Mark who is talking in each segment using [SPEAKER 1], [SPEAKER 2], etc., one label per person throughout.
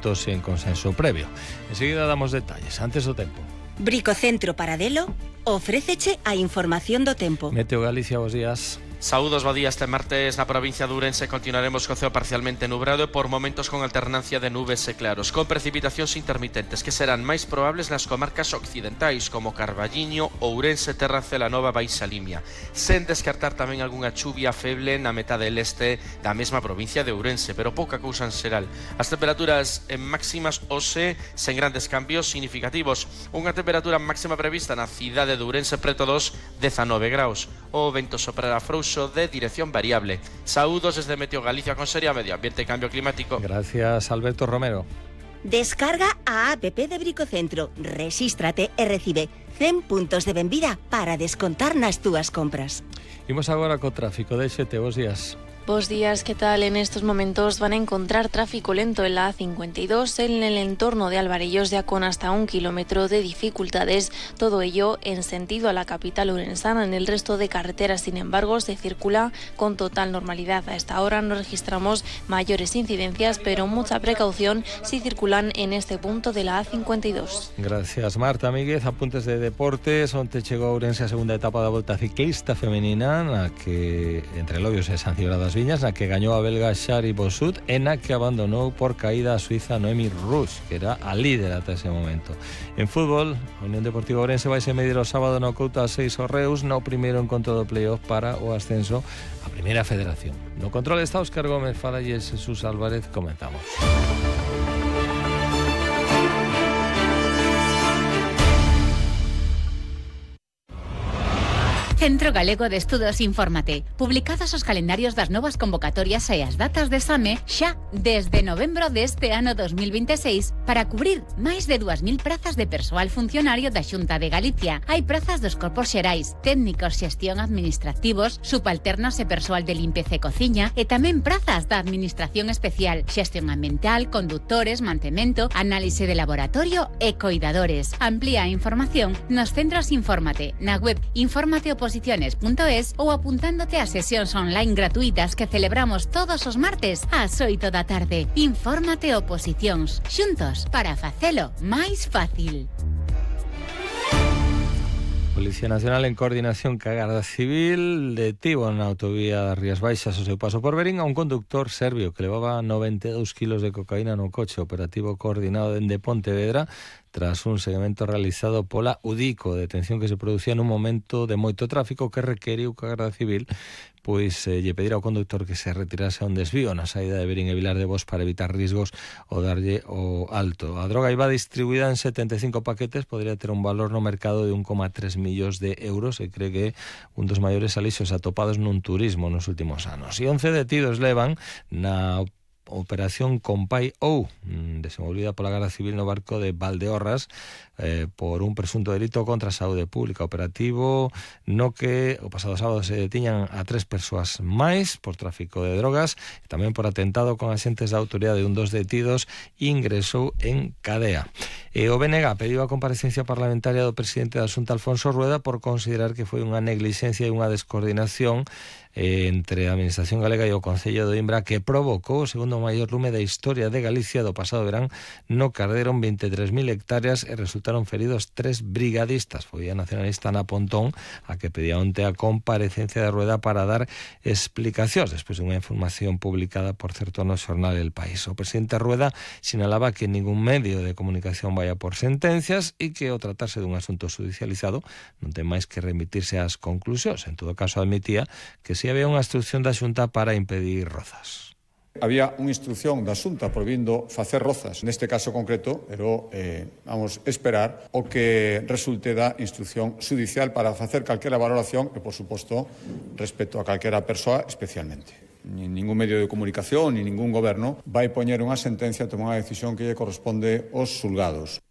[SPEAKER 1] argumentos e en consenso previo. Enseguida damos detalles. Antes do tempo.
[SPEAKER 2] Bricocentro Paradelo ofréceche a información do tempo.
[SPEAKER 1] Meteo Galicia, bos días.
[SPEAKER 3] Saúdos, bo día. Este martes na provincia de Ourense continuaremos co ceo parcialmente nublado e por momentos con alternancia de nubes e claros, con precipitacións intermitentes que serán máis probables nas comarcas occidentais como Carballiño, Ourense, Terra Celanova, Baixa Limia, sen descartar tamén algunha chuvia feble na metade leste da mesma provincia de Ourense, pero pouca cousa en xeral. As temperaturas máximas hoxe sen grandes cambios significativos. Unha temperatura máxima prevista na cidade de Ourense preto dos 19 graus. O vento soprará frouxo de dirección variable. Saúdos desde Meteo Galicia, Consellería Medio Ambiente e Cambio Climático.
[SPEAKER 1] Gracias, Alberto Romero.
[SPEAKER 2] Descarga a app de Bricocentro, rexístrate e recibe 100 puntos de benvida para descontar nas túas compras.
[SPEAKER 1] Imos agora co tráfico de XT, bos días.
[SPEAKER 4] Buenos días, ¿qué tal? En estos momentos van a encontrar tráfico lento en la A52 en el entorno de Alvarellos, ya con hasta 1 kilómetro de dificultades. Todo ello en sentido a la capital orensana. En el resto de carreteras, sin embargo, se circula con total normalidad. A esta hora no registramos mayores incidencias, pero mucha precaución si circulan en este punto de la A52.
[SPEAKER 1] Gracias, Marta Míguez. Apuntes de deportes. Onte chegou a Ourense a segunda etapa da Volta Ciclista Femenina, na que entre loios e San Cibrao das Viñas, na que gañou a belga Shari Bossut e na que abandonou por caída a suiza Noemi Rouge, que era a líder ata ese momento. En fútbol, a Unión Deportiva Ourense vai se medir o sábado no Couta 6 o Reus no primeiro encontro do playoff para o ascenso á Primeira Federación. No control está Óscar Gómez, fala e Jesús Álvarez. Comenzamos.
[SPEAKER 5] Centro Galego de Estudos Infórmate. Publicados os calendarios das novas convocatorias e as datas de exame xa desde novembro deste ano 2026 para cubrir máis de 2.000 prazas de persoal funcionario da Xunta de Galicia. Hai prazas dos corpos xerais, técnicos, xestión administrativos, subalternos e persoal de limpeza e cociña e tamén prazas da Administración Especial, xestión ambiental, conductores, mantemento, análise de laboratorio e coidadores. Amplía a información nos centros Infórmate, na web informateoposiciones.es ou apuntándote a sesións online gratuitas que celebramos todos os martes ás 8 da tarde. Infórmate Oposicións, xuntos para facelo máis fácil.
[SPEAKER 1] Policía Nacional, en coordinación ca Garda Civil, detivo na autovía das Rías Baixas o seu paso por Verín a un conductor serbio que levaba 92 kilos de cocaína no coche. Operativo coordinado dende Pontevedra tras un seguimento realizado pola UDICO, detención que se producía nun momento de moito tráfico que requeriu que a Garda Civil lle pedir ao conductor que se retirase a un desvío na saída de Verín e Vilar de Bos para evitar risgos ou darlle o alto. A droga iba distribuída en 75 paquetes, podría ter un valor no mercado de 1,3 millóns de euros e cree que un dos maiores alixos atopados nun turismo nos últimos anos. E 11 detidos levan na Operación Compai ou desenvolvida pola Garda Civil no barco de Valdeorras por un presunto delito contra a saúde pública. Operativo no que o pasado sábado se detiñan a 3 persoas máis por tráfico de drogas e tamén por atentado con axentes da autoridade. Un dos detidos ingresou en cadea. E o BNG pediu a comparecencia parlamentaria do presidente da Xunta, Alfonso Rueda, por considerar que foi unha neglixencia e unha descoordinación entre a Administración Galega e o Concello de Imbra que provocou o segundo maior lume da historia de Galicia do pasado verán, no que arderon 23.000 hectáreas e resultaron feridos 3 brigadistas. Foi a nacionalista Ana Pontón a que pedía onte a comparecencia de Rueda para dar explicacións despois de unha información publicada, por certo, no xornal El País. O presidente Rueda sinalaba que ningún medio de comunicación vaya por sentencias e que ao tratarse dun asunto judicializado non ten máis que remitirse ás conclusións. En todo caso, admitía que si había unha instrucción da Xunta para impedir rozas.
[SPEAKER 6] Había unha instrucción da Xunta prohibindo facer rozas, neste caso concreto, pero vamos esperar o que resulte da instrucción judicial para facer calquera valoración e, por suposto, respecto a calquera persoa especialmente. Ni ningún medio de comunicación, ni ningún goberno vai poñer unha sentencia a tomar unha decisión que lle corresponde aos xulgados.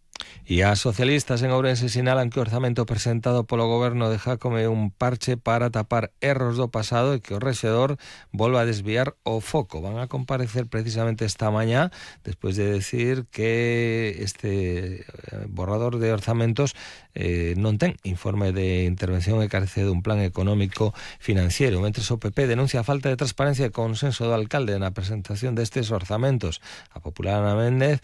[SPEAKER 1] E as socialistas en Ourense sinalan que o orzamento presentado polo goberno de Jácome é un parche para tapar erros do pasado e que o rexedor volva a desviar o foco. Van a comparecer precisamente esta mañá despois de decir que este borrador de orzamentos non ten informe de intervención e carece dun plan económico financiero. Mentres o PP denuncia a falta de transparencia e consenso do alcalde na presentación destes orzamentos. A popular Ana Méndez